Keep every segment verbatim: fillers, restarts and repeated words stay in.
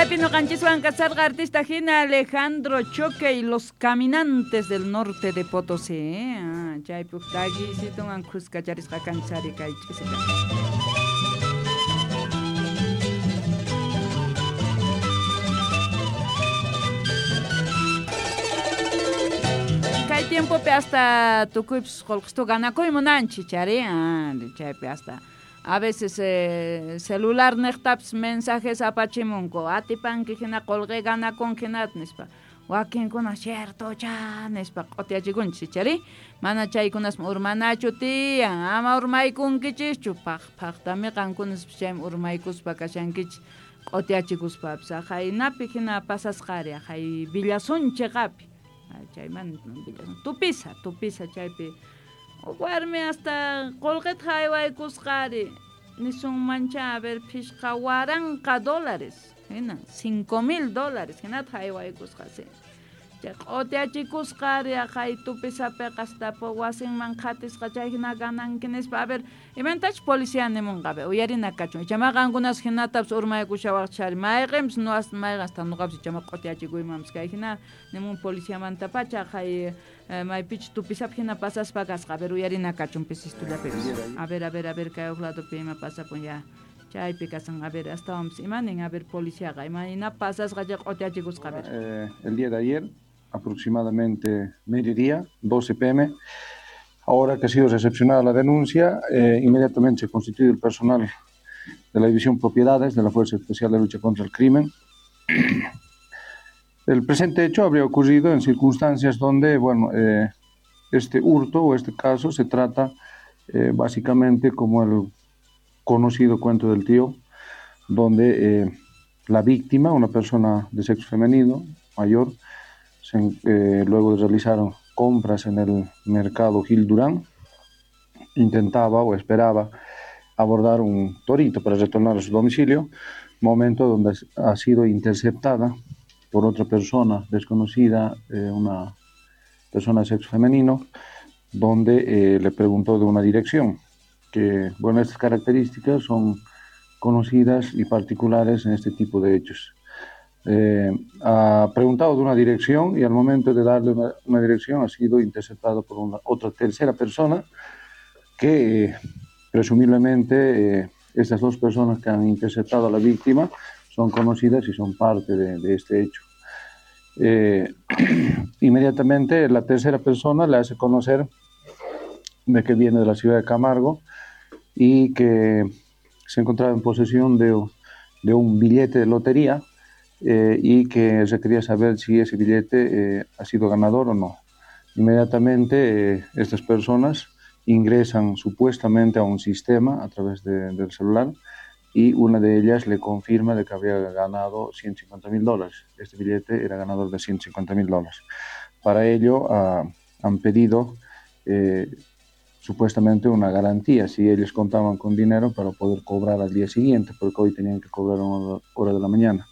Chaypi noqanchiswan kasarqa artista hina Alejandro Choque y los Caminantes del Norte de Potosí. ¿Eh? Ah, chaypi uj takiysitunwan khuskacharisqa kanchari kay ch'isita. Kay tiempopi hasta tukuypis qullqistu ganakuy munanchik chari, ah, chaypi hasta a veces eh, celular niqtapis mensajes apachimunku atipanki hina qullqi ganakunki hinata nispa wakinkuna ciertocha nispa q'utiyachikunchik chari mana chaykunasmi urmanachu tiyan ama urmaykunkichischu paq paqtami qankunas chaymi urmaykuspa kashankichik q'utiyachikuspapis jaynapi hina pasasqari jay villasunchiqapi chaymanta villasun tupisa tupisa chaypi warmi hasta qullqita haywaykusqari nisunmancha a ver phishqa waranqa dólares hina cinco mil dólares hinata haywaykusqa sí chay q'utiyachikusqari jay tupisapiqa hasta wasinman qhatisqa chay hina gananki nispa a ver imantach policía nimunqa a ver uyarina kachun ichama qankunas hinatapis urmaykushawaqchari mayqinpis no mayqin hasta nuqapis ichama q'utiyachikuymanpis kay hina nimun policiamantapacha jay maypichus tupisapi hina pasaspa kasqa a ver uyarina kachun pisistullapipis a ver a ver a ver kay huk ladopi ima pasapun ya chaypi kasan a ver astawanpis imanin a ver policiaqa imayna pasasqa chay q'utiyachikusqa a ver. Eh, el día de ayer aproximadamente mediodía, doce p m, ahora que ha sido recepcionada la denuncia, eh, inmediatamente se constituye el personal de la División Propiedades de la Fuerza Especial de Lucha contra el Crimen. El presente hecho habría ocurrido en circunstancias donde, bueno, eh, este hurto o este caso se trata eh, básicamente como el conocido cuento del tío, donde eh, la víctima, una persona de sexo femenino, mayor, se, eh, luego de realizar compras en el mercado Gil Durán, intentaba o esperaba abordar un torito para retornar a su domicilio, momento donde ha sido interceptada por otra persona desconocida, eh, una persona de sexo femenino, donde eh, le preguntó de una dirección, que, bueno, estas características son conocidas y particulares en este tipo de hechos. Eh, ha preguntado de una dirección y al momento de darle una, una dirección ha sido interceptado por una otra tercera persona que eh, presumiblemente eh, estas dos personas que han interceptado a la víctima son conocidas y son parte de, de este hecho. Eh, inmediatamente la tercera persona le hace conocer de que viene de la ciudad de Camargo y que se encontraba en posesión de, de un billete de lotería eh, y que se quería saber si ese billete eh, ha sido ganador o no. Inmediatamente eh, estas personas ingresan supuestamente a un sistema a través de, del celular y una de ellas le confirma de que había ganado ciento cincuenta mil dólares. Este billete era ganador de ciento cincuenta mil dólares. Para ello ah, han pedido eh, supuestamente una garantía, si ellos contaban con dinero para poder cobrar al día siguiente, porque hoy tenían que cobrar a una hora de la mañana.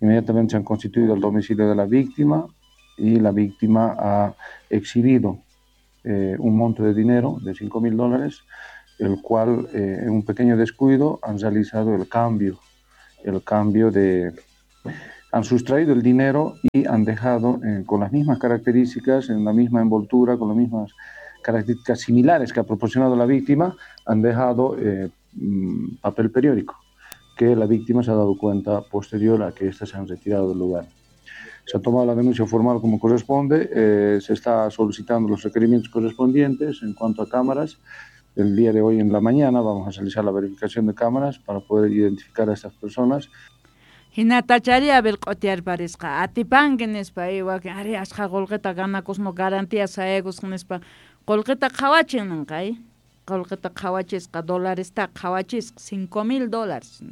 Inmediatamente se han constituido el domicilio de la víctima y la víctima ha exhibido eh, un monto de dinero de cinco mil dólares, el cual eh, en un pequeño descuido han realizado el cambio, el cambio de... han sustraído el dinero y han dejado eh, con las mismas características, en la misma envoltura, con las mismas características similares que ha proporcionado la víctima, han dejado eh, papel periódico, que la víctima se ha dado cuenta posterior a que éstas se han retirado del lugar. Se ha tomado la denuncia formal como corresponde, eh, se está solicitando los requerimientos correspondientes en cuanto a cámaras. El día de hoy en la mañana vamos a realizar la verificación de cámaras para poder identificar a estas personas. Hinatachari a ver q'utiyarparisqa atipanki nispa wakin ari ashqa qullqita ganakusmo garantía sayaykusqa nispa qullqita qhawachin ninqa qullqita qhawachisqa dolaresta qhawachisqa cinco mil dólares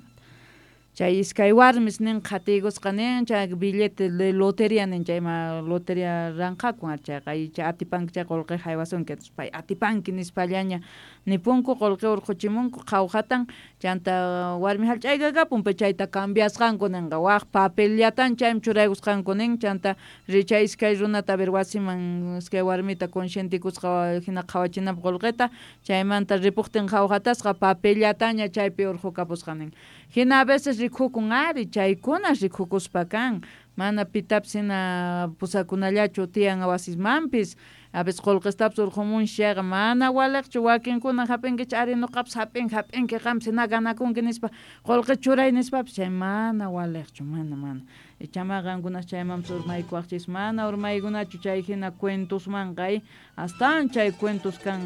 chay iskay warmis nin qhatiykusqa nin chay billete de lotería nin chayma lotería ranqakun chayqa chay atipanki chay qullqi haywasunki pay atipanki nispallaña nipunku qullqi urquchimunku qhawjatan chanta warmi hallch'aykakapun pay chayta cambiasqanku ninqa waq papellatan chaymi churaykusqanku nin chanta richay iskay runata ver wasiman iskay warmita conscientikusqa hina qhawachinapaq qullqita chaymanta ripuqtin qhawjatasqa papellataña chaypi urqukapusqa nin hina a veces Rikukun ari chaykuna rikukuspa kan mana pitapis hina pusakunallachu tiyan wasismanpis a veces qullqistapis urqumunchis chayqa mana waliqchu wakinkuna hap'inkichik ari nuqapis hap'inki hap'inki qampis hina ganakunki nispa qullqi churay nispapis chay mana waliqchu mana mana ichama qankunas chaymanpis urmaykuwaqchis mana urmaykunachu chay hina cuentosmanqa astawan chay cuentos kan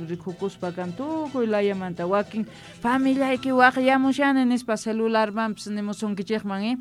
rikukuspa kan tukuy layamanta wakin familiayki waqyamushani nispa celularmanpis nimusunkichikman eh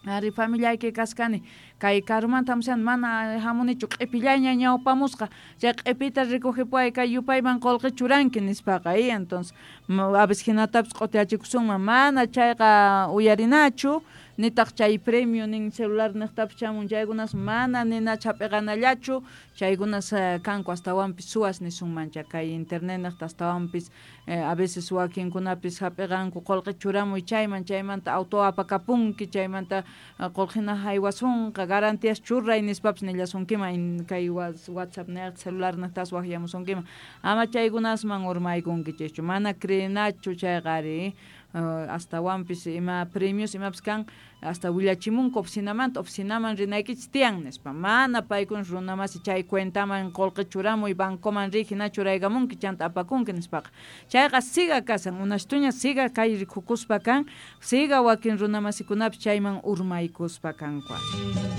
ari familiayki kaskani kay karumanta hamushani mana hamunichu q'ipillaña ñawpamusqa chay q'ipita rikujipuway kay yupayman qullqi churanki nispaqa y entonces a veces hinatapis q'utiyachikusunman mana chayqa uyarinachu nitaq chay premio nin celular niqtapis chamun chaykunas mana ninachu hap'iqanallachu chaykunas kanku astawanpis suwas nisunmancha kay internet niqta astawanpis a veces wakinkunapis hap'iqanku qullqi churamuy chayman chaymanta auto apakapunki chaymanta qullqina haywasunqa garantías churay nispapis nillasunkiman kay WhatsApp niqta celular niqtas waqyamusunkiman ama chaykunasman urmaykunkichischu mana creenachu chayqa ari astawanpis ima premios imapis kan hasta willachimunku oficinamanta oficinaman rinaykichis tiyan nispa mana paykuna runamasi chay cuentaman qullqi churamuy bancoman riy hina churaykamunki chanta apakunki nispaqa chayqa siga kasan unastuña siga kay rikukuspa kan siga wakin runamasikunapis chayman urmaykuspa kanku.